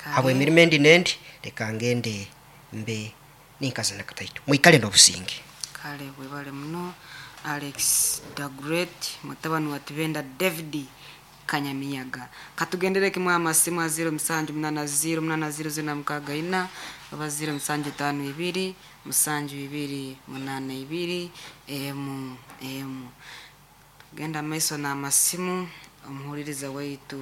Kale. Habw'emirimo endi n'endi, leka ngende mbe ninkazana kataito. Mwikale n'obusinge. Kale webale muno Alex da Great mutabani wa Tibenda David Kanyamiyaga. Katugendere kimwe amasimu a 0780 80 064 oba 0752 72 82 emu emu. Tugenda maiso n'amasimu omuhuririza waitu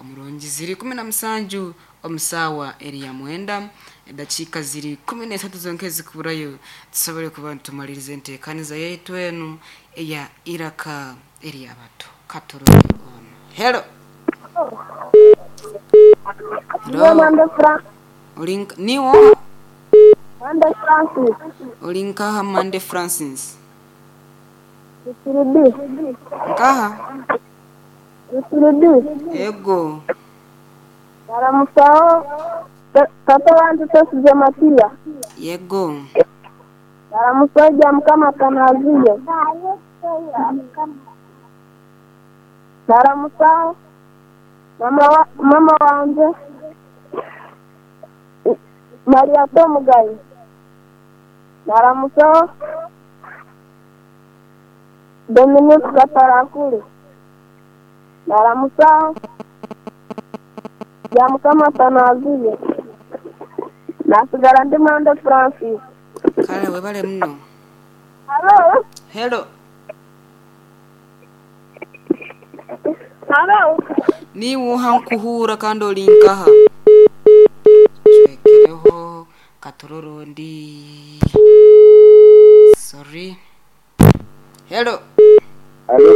omurungi ziri 17 omu saawa eri ya mwenda edakiika ziri 13 zonka ezikuburayo tusobole kuba nitumaliriza enteekaniza yaitu enu eya Iraka ery'abato. Katurore ono. Hello. Niwe Hello. Mwende Fra Oli nka- niwe oha? Mwende Francis Oli nkaha Mande Francis? Rusiribi Nkaha? Rusiribi Ego. Baramusaho tata wanje Twesigye Matiya Yego. Baramusaho Mukama Kanaziye Baramusaho mama wa, mama wanje Maria Tomugayi Baramusaho Dominique Katarakuli Baramusaho Mukama Kanaziye nasigara ndi Mwende Francis. Kale webale muno. Halo. Hello. Halo. Niwe oha nkuhuura kandi oli nkaha? Cwekereho katurore ondi. Sorry. Hello. Alo,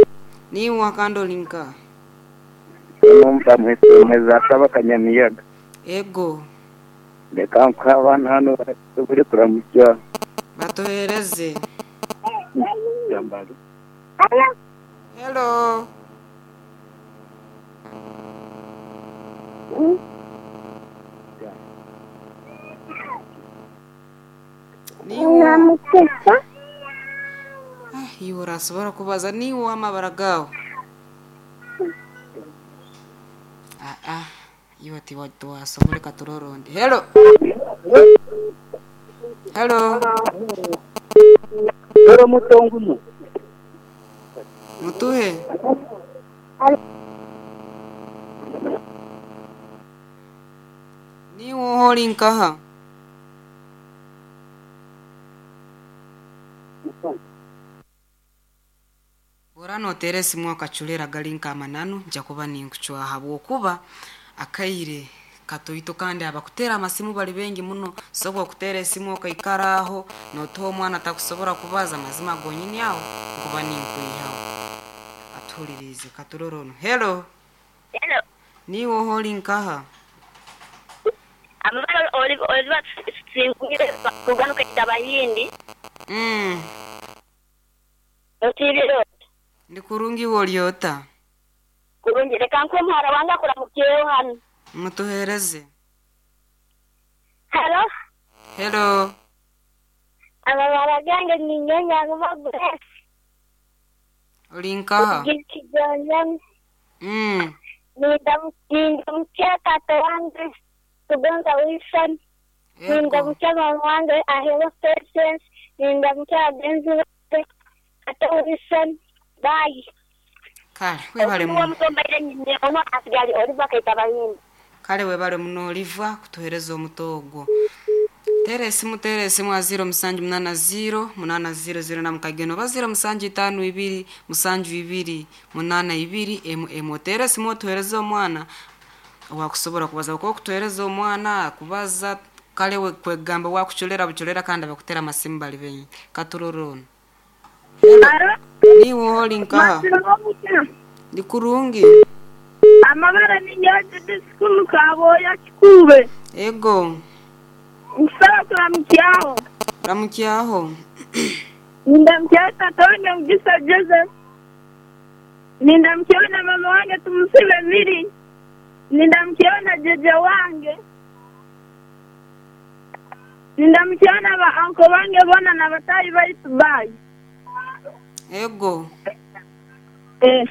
Niwe oha kandi oli nkaha? numva mwese asaba Kanyamiyaga. Ego. Reka nkuhe abana hano bari kuramukya. Batuhereze. Jambari. Hello. Niwe. Namukesa Ah, iwe orasobora kubaza niwe amabara gawe. Ah ah. Iwe tiwasobora katurore ondi. Hello. Hello. Dore mutonguno. Mutuhe. Niwe oha ori nkaha? Ora noteera esimu akacurera gari nk'amananu nja kuba ninkucwaha habwokuba akaire katoito kandi abakuteera amasimu bali bengi muno sobola okuteera esimu okaikara aho notuha omwana takusobora kubaza amazima gonyini aho nkuba ninkwihaho. Atuhuririize katurore ono. Hello. Hello. Niwe oha ori nkaha? Amabara oliva singwire kuganuka Bayindi. Otiriro Ndi kurungi iwe ori ota? kurungi reka nkuhe muhara wange akuramukiyeho hano. Mutuhereze. Hello. Hello. Amabara gange ni Nyanyanguba Grace. Ori nkaha? Kijonjo Nindamukia tata wange Kugonza Wilson. Ego. Nindamukia mama wange Ahero Patience. Nindamukia bagenzi bange Tata Wilson. Bye. Kale webale Uwo muno. mutombaire nyine ono asigali oliva kaita Bayindi. Kale webale muno oliva kutuhereza omuto ogwo. Teera esimu teera esimu a 0780 800 na mukageno oba 0752 72 82 emu emu. Oteera esimu otuhereze omwana owakusobora kubaza kuba okutuhereza omwana akubaza kale we kwegamba wakuculera buculera kandi abakutera amasimu bali bengi. Katurore ono. Hello. Niwe oha ori nkaha? Ndi kurungi. Amabara ni nyoje disikulu kaboya kikube. Ego. Nkusaba kuramukyaho. Ramukyaho. Nindamukyaho tata wange Mugisa Joseph. Nindamukyaho na mama wange Tumusibe Miri. Nindamukyaho na jeje wange. Nindamukyaho na ba anko bange bona na batayi baitu bayi. Ego. Eh.